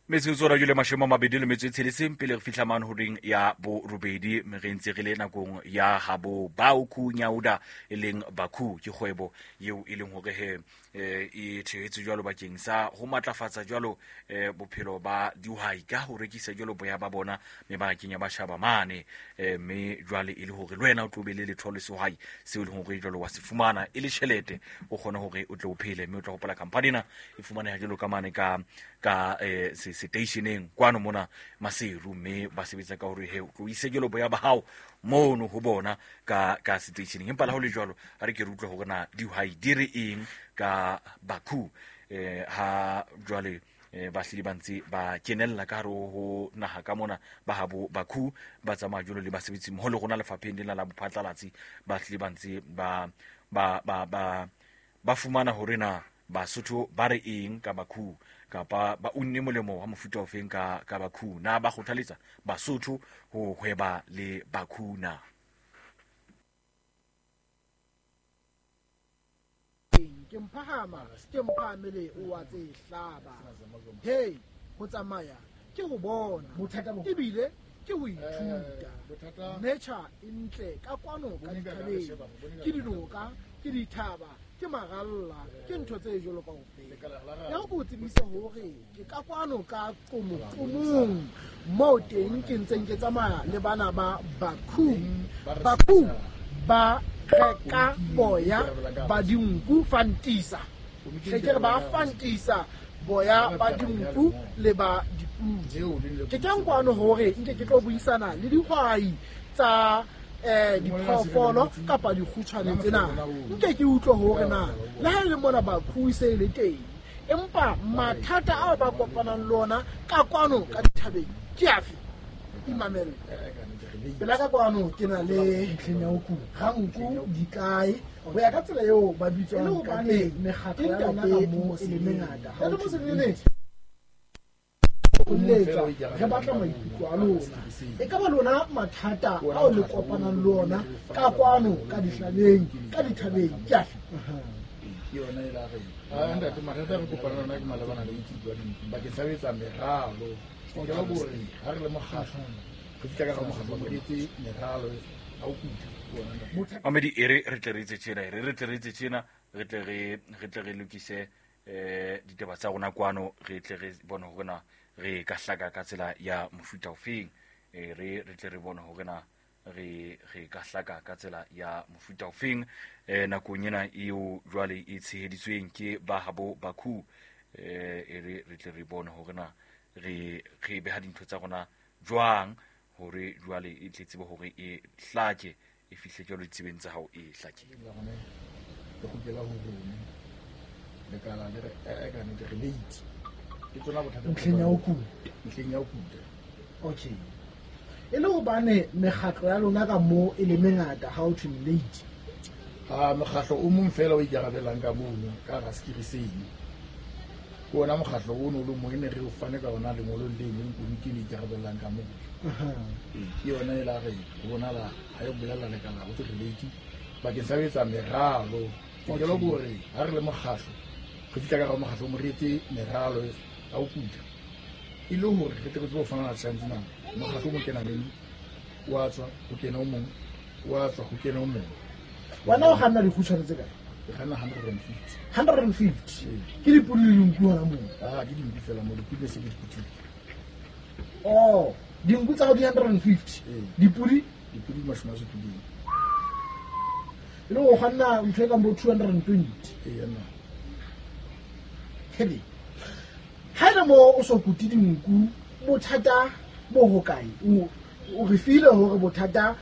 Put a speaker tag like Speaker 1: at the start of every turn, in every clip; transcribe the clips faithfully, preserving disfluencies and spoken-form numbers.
Speaker 1: Metsotso ra jule mashome a mabedi le metso e tsheletseng pele re fihla mane horeng ya borobedi, mme re ntse re le nakong ya habo Baoku Nyauda e leng Baku, ke kgwebo eo e leng hore he eh, e thehetswe jwalo bakeng sa ho matlafatsa jwalo eh, bophelo ba dihwai ka ho rekisa jwalo boya ba bona mebarakeng ya batjhaba mane, eh, mme jwale e le hore le wena o tlo be le letho le sehwai seo e leng hore jwalo wa se fumana e le tjhelete, o kgone hore o tle o phele. Mme o tla hopola company ena e fumaneha jwalo ka mane ka ka eh, se stationeng kwano mona Maseru, mme ba sebetsa ka hore he o tlo ise jwalo boya ba hao mono ho bona ka ka stationeng. Empa le ha ho le jwalo, ha re ke re utlwe hore na dihwai di re eng ka Baku, eh, ha jwale eh, ba hlile ba ntse ba kenella ka hare ho naha ka mona ba habo Baku, ba tsamaya jwalo le basebetsi mmoho le rona lefapheng lena la bophatlalatsi, ba hlile ba ntse ba ba ba ba ba fumana hore na Basotho ba re eng ka Baku, kapa ba unne molemo wa mofuta ofeng ka ka Baku, na ba kgothaletsa Basotho ho hweba le Baku na.
Speaker 2: Ke mphahama, ke mphahamele o wa tse hlaba. Hey, ho tsamaya ke ho bona, ebile ke ho ithuta. Nature e ntle ka kwano ka dithabeng, ke dinoka, ke dithaba, ke maralla, ke ntho tse jwalo kaofela. Ya ho o tsebise hore ke ka kwano ka Qomoqomong, moo teng ke ntseng ke tsamaya le bana ba Baku. Baku ba reka boya ba dinku fantisa. Hle ke re ba fantisa boya ba dinku le ba dipudi. Ke teng kwano hore nke ke tlo buisana le dihwai tsa eh diphoofolo kapa dikgutshwane tsena. Nke ke utlwe hore na le ha e le mona Baku se le teng, empa mathata ao ba kopanang le ona ka kwano ka dithabeng ke afe? Imamele. Pela ka kwano ke na le Ranku Dikae, ho ya ka tsela eo ba bitswang ka teng, mekgatlo ya rona ka moo e le mengata. Ha o letsa, re batla maikutlo a lona. E ka ba lona mathata ao le kopanang le ona ka kwano ka dihlabeng, ka dithabeng ke afe?
Speaker 3: Ke yona e la re. Ah, ntate, mathata a re kopanang le ona ke malebana le botsitso ba dinku bakeng sa ho etsa meralo. Ke le hore ha re le mokgatlo, re fihla ka hara mokgatlo, re etse meralo ya ho kuta.
Speaker 1: Mamedi, e re re tle re etse tjena, e re re tle re etse tjena, re tle re re tle re lokise eh ditaba tsa rona kwano, re tle re bone hore na re ka hlaka ka tsela ya mofuta ofeng. E re re tle re bone hore na re re ka hlaka ka tsela ya mofuta ofeng. Eh nakong ena eo jwale e tsheheditsweng ke ba habo Baku, eh e re re tle re bone hore na re re beha dintho tsa rona jwang hore jwale e tle tsebe hore e hlake, e fihle jwalo ditsebeng tsa hao e hlakile.
Speaker 3: Le kgutlela ho rona. Lekala le re, eh, ka nnete re late. Ke tsona bothata.
Speaker 2: Ntlheng ya ho kuta.
Speaker 3: Ntlheng ya ho kuta.
Speaker 2: Okay. E le hobane mekgatlo ya lona ka moo e le mengata ha ho thwe late.
Speaker 3: Ha mokgatlo o mong fela o ikarabelang ka mono ka hara sekiri seno. Ke ona mokgatlo ono o le mong e ne re o fane ka ona lengolong le leng komiti e ikarabellang ka moo. Ee, ke yona e la re ho bonahala ha e bolella lekala ho thwe re late bakeng sa ho etsa meralo. Ke le hore ha re le mokgatlo, re fihla ka hara mokgatlo mo re etse meralo ya ho kuta. E le hore re tle re tsebe ho fumana chance na mokgatlo o mo kenang le wa tswa ho kena o mong, wa tswa ho kena o mong.
Speaker 2: Wena o kganna dikgutshwane tse kae?
Speaker 3: Ke kganna hundred and fifty.
Speaker 2: hundred and fifty?
Speaker 3: Ee.
Speaker 2: Ke dipodi le dinku hona moo?
Speaker 3: Ah, ke dinku fela moo, dipodi se ke dipodi.
Speaker 2: Oh, dinku tsa hao di hundred and fifty?
Speaker 3: Ee.
Speaker 2: Dipodi?
Speaker 3: Dipodi di mashome a supileng.
Speaker 2: E le ho kganna ntho e kang bo two hundred and twenty?
Speaker 3: Ee, nna.
Speaker 2: Hele. Ha ele moo o so kute dinku, bothata bo hokae? O, o re file hore bothata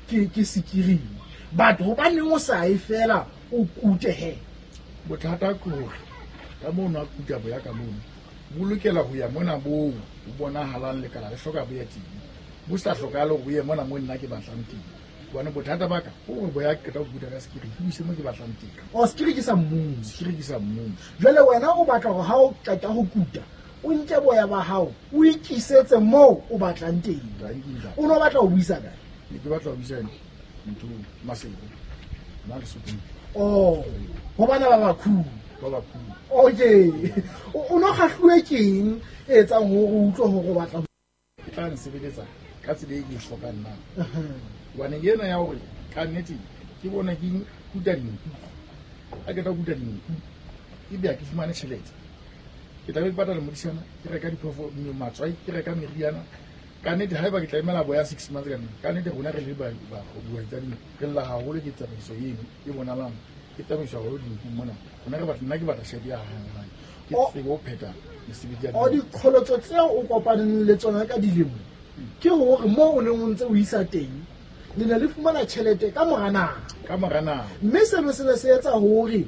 Speaker 2: ke, ke sekiring. But hobaneng o sa e fela o kute he?
Speaker 3: Bothata ke hore ka mono a kuta boya ka mono, bo lokela ho ya mona moo ho bonahalang lekala le hloka boya teng. Bo sa hlokahale hore bo ye mona moo nna ke batlang teng. Hobane bothata ba ka ke hore boya ke qeta ho kuta ka sekiri, ke bo ise moo ke batlang teng.
Speaker 2: Oh, sekiri ke sa mmuso.
Speaker 3: Sekiri ke sa mmuso.
Speaker 2: Jwale wena o batla hore ha o qeta ho kuta, o nke boya ba hao, o ikisetse moo o batlang teng.
Speaker 3: Ra nkile.
Speaker 2: O no batla ho buisa kae?
Speaker 3: Ne ke batla ho buisa ntho Maseru. Nna le Sokong.
Speaker 2: Oh, ho bana ba Baku.
Speaker 3: Ba Baku.
Speaker 2: Okay. O, o no kgahluwe keng e etsang hore o utlwe hore o batla
Speaker 3: e tla nsebeletsa ka tsela e ke e hlokang na. Hobane ena ya hore ka nnete ke bona ke kuta dinku, ha ke tla kuta dinku ebe ha ke fumane tjhelete, ke tla be ke patala modisana, ke reka diphoofolo, matswai, ke reka meriana. Ka nnete haeba ke tla emela boya six months ka nnete, ka nnete rona re le dihwai tsa dinku re lla haholo ke tsamaiso eno e bonalang ke tsamaiso haholo dinku mona. Rona re batla, nna ke batla tjhelete ya hanghang, ke tsebe ho phetha mesebetsi ya
Speaker 2: O diqholotso tseo o kopaneng le tsona ka dilemo ke hore moo o neng o ntse o isa teng le ne le fumana tjhelete ka mora nako,
Speaker 3: ka mora nako,
Speaker 2: mme seno se ne se etsa hore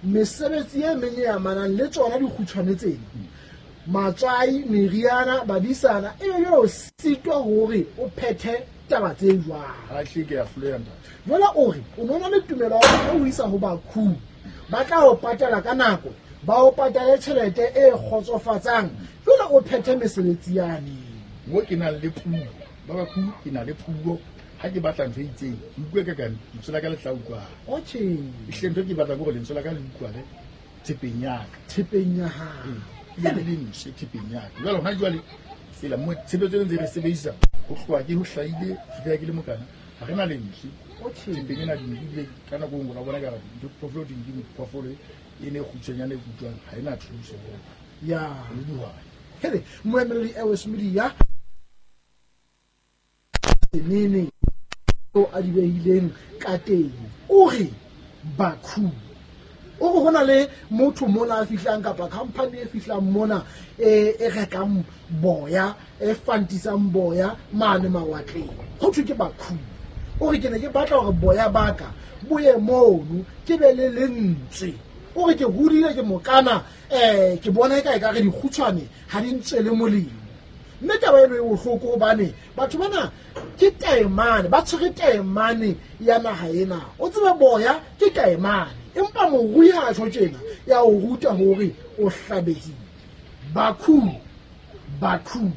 Speaker 2: mesebetsi e meng e amanang le tsona dikgutshwane tsena, matswai, meriana, badisana, e be jwale o sitwa hore o phethe taba tse jwalo.
Speaker 3: Ha hle ke a hloleha ntate.
Speaker 2: Jwale o re o no na le tumelo ya hore o isa ho bakhu, ba tla o patala ka nako, ba o patale tjhelete e kgotsofatsang, jwale o phethe mesebetsi yane.
Speaker 3: Mo ke nang le puo, ba bakhu ke na le puo. Ha ke batla ntho e itseng, ke utlwe ka kang lentswe la ka le tla utlwahala.
Speaker 2: Okay.
Speaker 3: Ehlile ntho e ke batlang ke hore lentswe la ka le utlwale thepeng ya ka.
Speaker 2: Thepeng ya hao.
Speaker 3: Ee, e be le lentswe thepeng ya ka. Jwale hona jwale tsela mo tshebetso e ntse re sebedisa ho tloha ke ho hlahile fihlela ke le mokana, ha re na lentswe.
Speaker 2: Okay.
Speaker 3: Thepeng ena dinku ebile ka nako e nngwe o la bona ekare diphoofolo di nkile phoofolo e ne e kgutshwanyane e utlwang, ha e na thuso.
Speaker 2: Ya.
Speaker 3: Le dihwai.
Speaker 2: Hele, moemeledi Airways Media nene o a di behileng ka teng, o re bakhu, o re hona le motho mona a fihlang kapa company e fihlang mona e e rekang boya, e fantisang boya mane mawatleng, ho thwe ke bakhu. O re ke ne ke batla hore boya ba ka bo ye mono, ke be le lentswe. O re ke hodile ke mokana, eh ke bona eka ekare dikgutshwane ha di ntswele molemo. Mme taba eno e bohloko hobane batho bana ke taemane, ba tshwere taemane ya naha ena. O tsebe boya ke taemane, empa morui ha a tjho tjena ya o ruta hore o hlabehile. Bakhu, bakhu,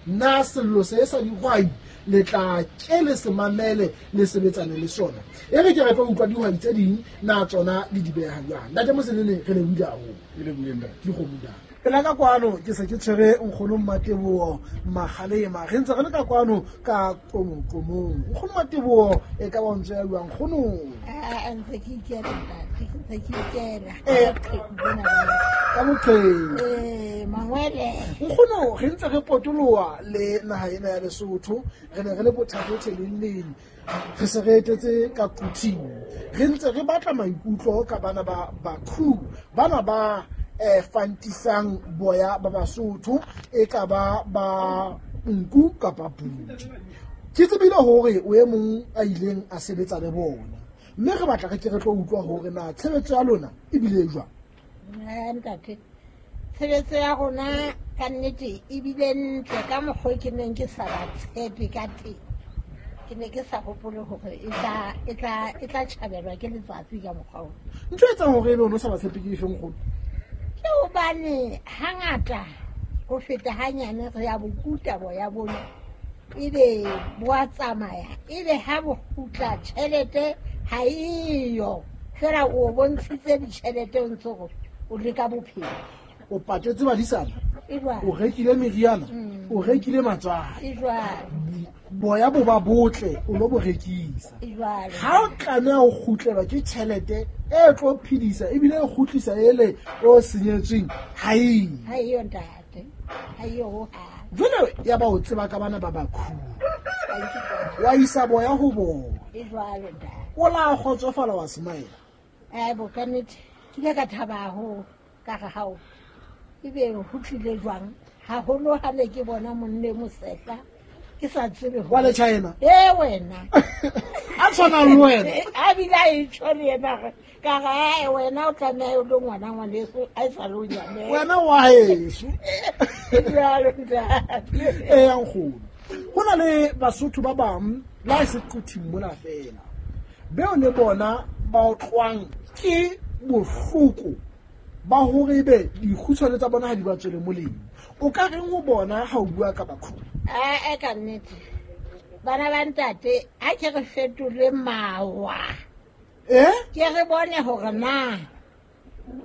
Speaker 2: na sello se sa dihwai le tla ke le se mamele le sebetsane le sona. E re ke re tlo utlwa dihwai tse ding na tsona le di beha jwang. Ntate Mosenene, re lebohile haholo.
Speaker 3: Ke lebohile ntate.
Speaker 2: Dikgomo ntate. Pela ka kwano ke se ke tshwere nkgono Mmateboho Magalema, re ntse re le ka kwano ka Qomoqomong. Nkgono Mmateboho e ka ba ntse ya jwang nkgono?
Speaker 4: Ah, ntse ke ikela ntate, ntse ke ikela.
Speaker 2: Eh, ka boqheku.
Speaker 4: Eh, mangwele.
Speaker 2: Nkgono re ntse re potoloha le naha ena ya Lesotho, re ne re le Bothatothe leng leng, re se re etetse ka Quthing, re ntse re batla maikutlo ka bana ba bakhu, bana ba eh fantisang boya ba Basotho e ka ba ba nku kapa pudi. Ke tsebile hore o e mong a ileng a sebetsa le bona, mme re batla re ke re tlo utlwa hore na tshebetso ya lona e bile jwang.
Speaker 4: Eh, ntate, tshebetso ya rona ka nnete e bile ntle ka mokgwa ke neng ke sa ba tshepe ka teng. Ke ne ke sa hopole hore e tla, e tla, e tla tjhabelwa ke letsatsi ka mokgwa ona.
Speaker 2: Ntho e etsang hore ebe o no sa ba tshepe ke efeng nkgono?
Speaker 4: Ke hobane hangata ho feta hanyane re ya bokuta boya bona, ebe bo a tsamaya, ebe ha bo kgutla tjhelete ha eyo, fela o bontshitse ditjhelete o ntse o o leka bophelo.
Speaker 2: O patetse badisana,
Speaker 4: E jwalo.
Speaker 2: o rekile meriana,
Speaker 4: Mm.
Speaker 2: o rekile matswai.
Speaker 4: E jwalo.
Speaker 2: Boya bo ba botle o lo bo rekisa.
Speaker 4: E jwalo.
Speaker 2: Ha o tlameha ho kgutlelwa ke tjhelete e tlo phedisa ebile e kgutlisa ele o senyetsweng, ha eyo.
Speaker 4: Ha eyo ntate, ha eyo hohang.
Speaker 2: Jwale ya ba o tseba ka bana ba bakhu,
Speaker 4: Thank you,
Speaker 2: wa isa boya ho bona.
Speaker 4: E jwalo ntate.
Speaker 2: O la kgotsofala wa smile.
Speaker 4: Eh, bo ka nnete ke ile ka thaba haholo, ka re hao ebe ho tlile jwang haholo ha ne ke bona monne mosehla ke sa tsebe hore
Speaker 2: Wa le China?
Speaker 4: Eh, wena.
Speaker 2: A tshwanang le wena.
Speaker 4: A bile a e tjho le yena re, ka re, eh, wena o tlameha o le ngwana ngwaneso, a e sa le o nyane.
Speaker 2: Wena wa heso.
Speaker 4: Jwalo, ntate.
Speaker 2: Eh, nkgono. Ho na le Basotho ba bang le ha e se Quthing mona fela, beo le bona ba otlwang ke bohloko ba hore ebe dikgutshwane tsa bona ha di ba tswele molemo. O ka reng ho bona ha o bua ka bakhu?
Speaker 4: Eh, eh, ka nnete. Bana ba ntate, ha ke re fetole mawa.
Speaker 2: Eh?
Speaker 4: Ke re bone hore na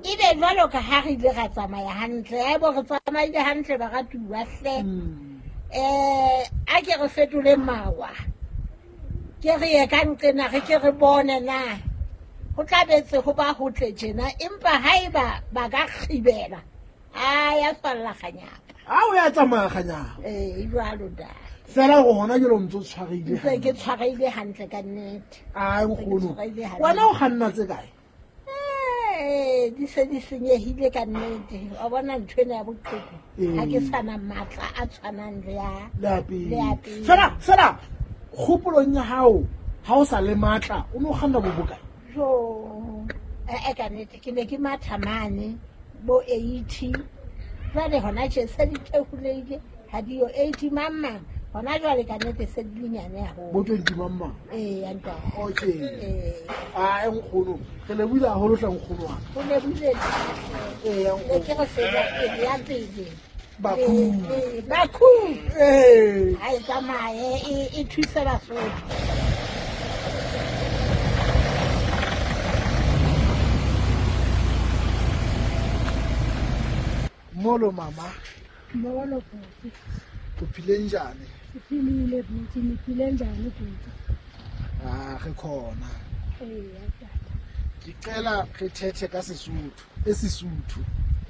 Speaker 4: Ebe jwalo ka ha re ile ra tsamaya hantle, a bo re tsamaile hantle baratuwa hle. Eh a ke re fetole mawa. Ke re ye ka nqena re ke re bone na. Ho tla betse ho ba ho tle tjena empa haeba ba ka kgibela a ya falla kganyapa.
Speaker 2: A o ya tsamaya kganyapa.
Speaker 4: Eh jwalo da.
Speaker 2: Fela go hona jalo ntse o tshwareile.
Speaker 4: Ntse ke tshwareile hantle ka nnete.
Speaker 2: Ai nkgono. Wena o kganna tse kae?
Speaker 4: Eh di se di senyehile ka nnete. Wa bona ntho ena ya boqheku. Ha ke sana matla a tshwanang le ya
Speaker 2: le ya pele. Fela fela kgopolong ya hao ha o sa le matla o no kganna bo bokae?
Speaker 4: Jo eh ka nnete ke ne ke matha mane bo eighty. Jwale hona tje se di theholeile ha di yo eighty mamma. Hona jwale ka nnete se di nyane haholo.
Speaker 2: Bo twenty mamma.
Speaker 4: Eh ya ntate.
Speaker 2: Okay.
Speaker 4: Eh
Speaker 2: ah nkgono re lebohile haholo hle nkgono wa.
Speaker 4: O lebohile.
Speaker 2: Eh ya nkgono.
Speaker 4: Ke re fela pele ya pele.
Speaker 2: Bakhu.
Speaker 4: Bakhu.
Speaker 2: Eh.
Speaker 4: Ha e tsamaye e e thuse Basotho.
Speaker 2: Molo mama.
Speaker 5: Molo bhuti.
Speaker 2: Uphile njani?
Speaker 5: Siphilile bhuti, niphile njani bhuti?
Speaker 2: Ah, re khona.
Speaker 5: Eh, tata.
Speaker 2: Ngicela re thethe ka Sesotho, esiSuthu.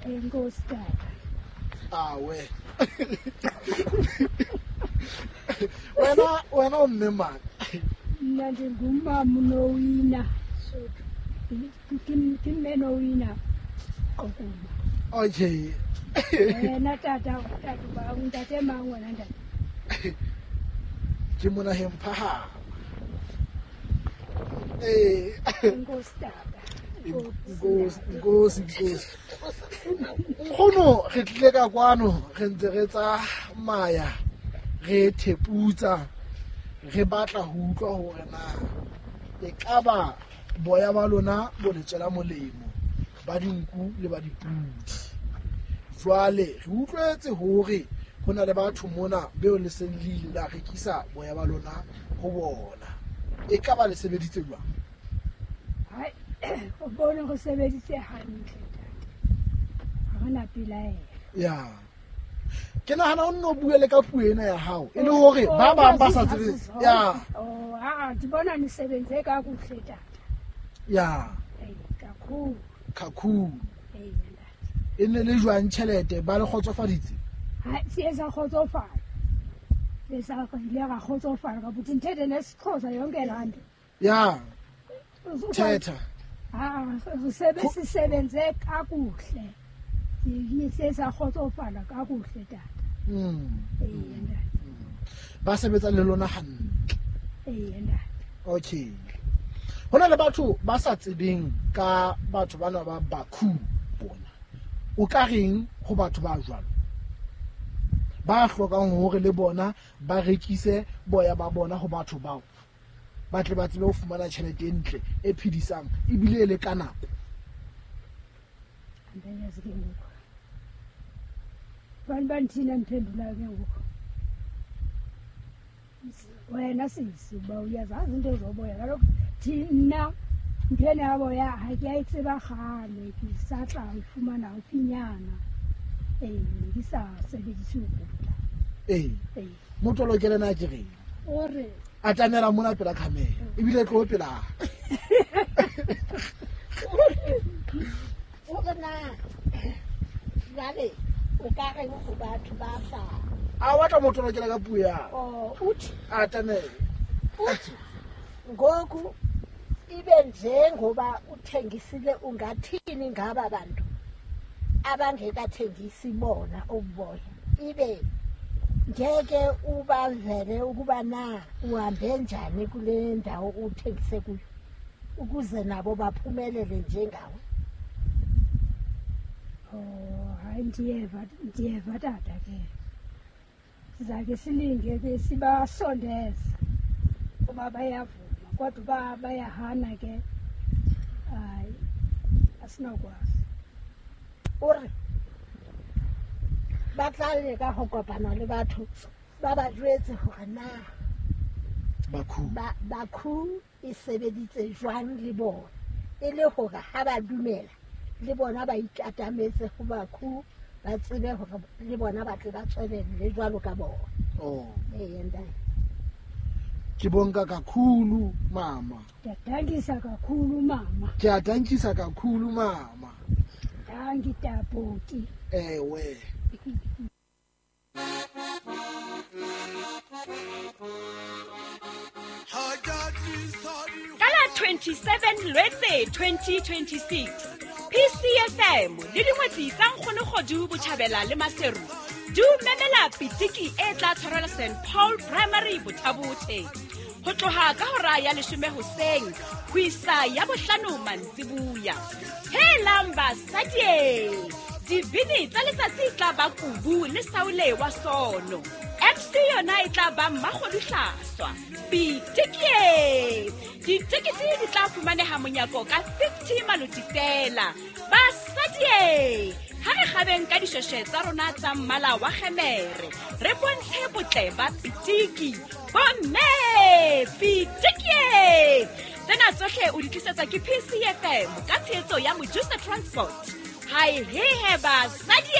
Speaker 5: Enkosi tata.
Speaker 2: Awe. Wena wena o mme mang?
Speaker 5: Nna ndingumama uNowina. Sotho. Ke mme Nowina Qokuma.
Speaker 2: Okay.
Speaker 5: Wena tata tata ba ntate mang wena ntate?
Speaker 2: Ke mona hemphahama. Eh.
Speaker 5: Enkosi tata.
Speaker 2: Nkosi nkosi nkosi. Nkgono re tlile ka kwano re ntse re tsamaya re theputsa re batla ho utlwa hore na e ka ba boya ba lona bo le tswela molemo ba dinku le ba dipudi. Jwale re utlwetse hore ho na le batho mona beo le seng le ile la rekisa boya ba lona ho bona. E ka ba le sebeditse jwang?
Speaker 5: Hai, o bone go sebeditse hantle tata. Ha re na pelaelo.
Speaker 2: Ya. Ke nahana o nno bue le ka puo ena ya hao e le hore ba bang ba sa tsebe. Ya.
Speaker 5: Oh, ha di bona ni sebentse ka kuhle tata.
Speaker 2: Ya.
Speaker 5: Eh, kakhulu.
Speaker 2: Kakhulu.
Speaker 5: Eh,
Speaker 2: e ne le jwang tjhelete ba le kgotsofaditse?
Speaker 5: Ha siye sa kgotsofala. Le sa ile ra kgotsofala ka buthi nthethe nesiXhosa yonke laa nto.
Speaker 2: Ya. Thetha.
Speaker 5: Ha re sisebenze kakuhle. Siye sa kgotsofala kakuhle tata.
Speaker 2: Mm.
Speaker 5: Eh, ntate.
Speaker 2: Ba sebetsa le lona hantle.
Speaker 5: Eh, ntate.
Speaker 2: Okay. Hona le batho ba sa tsebeng ka batho bana ba Bakhu bona. O ka reng ho batho ba jwalo? Ba hlokang hore le bona ba rekise boya ba bona ho batho bao. Ba tle ba tsebe ho fumana tjhelete e ntle e phedisang ebile e le ka nako.
Speaker 5: Andiyazi ke ngoku. Bantu banthina ndiphendulayo ke ngoku. Wena sisi uba uyazazi into zoboya kaloku thina ntho ena ya boya ha ke a e tseba kgale ke sa tla e fumana haufinyana. Eh, ne ke sa sebedise ho kuta.
Speaker 2: Eh.
Speaker 5: Eh.
Speaker 2: Motolo ke lena ke reng?
Speaker 5: O re
Speaker 2: atamela mona pela khamera ebile tlo pela.
Speaker 4: O re na jwale o ka reng ho batho ba sa
Speaker 2: A batla motolo ke la ka puo ya.
Speaker 4: Oh, uthi
Speaker 2: atamela.
Speaker 4: Uthi ngoku ibe njengoba uthengisile ungathini ngaba bantu abangekathengisi bona uboya ibe ngeke ubavele ukuba na uhambe njani kule ndawo uthengise kuyo ukuze nabo baphumelele njengawe.
Speaker 5: Oh, hayi ndiyeva ndiyeva tata ke. Sizake silinge ke sibasondeze uba bayavuma kodwa uba bayahana ke hayi asinokwazi.
Speaker 4: O re ba tla leka ho kopana le batho ba ba jwetse hore na
Speaker 2: Bakhu
Speaker 4: ba Bakhu e sebeditse jwang le bona e le hore ha ba dumela Le bona ba ikatametse ho Bakhu, ba tsebe hore le bona ba tle ba tswelelle jwalo ka bona.
Speaker 2: Oh.
Speaker 4: Ee, ntate.
Speaker 2: Ke bonka kakhulu mama.
Speaker 5: Ndiyadankisa kakhulu mama.
Speaker 2: Ke a dankisa kakhulu mama.
Speaker 5: Danki taputi.
Speaker 2: Ewe.
Speaker 6: Ka la twenty-seven Lwetse twenty twenty-six, P C F M le dingwetsi tsa Nkgonokgodu Botjhabela le Maseru di o memela pitiki e tla tshwarelwa Saint Paul Primary Bothabothe ho tloha ka hora ya leshome hoseng ho isa ya bohlano mantsibuya. Helang basadi, dibini tsa letsatsi tla ba Kubu le Saule wa Sono. M C yona e tla ba Mmakgodu Hlaswa. Pitiki! Ditekete di tla fumaneha monyako ka fifty maloti fela. Basadi, ha re kgabeng ka dishweshwe tsa rona tsa mmala wa kgemere, re bontshe botle ba pitiki. Bomme, pitiki! Tsena tsohle o di tlisetswa ke P C F M ka tshehetso ya Mojusa Transport. Hai he he basadi!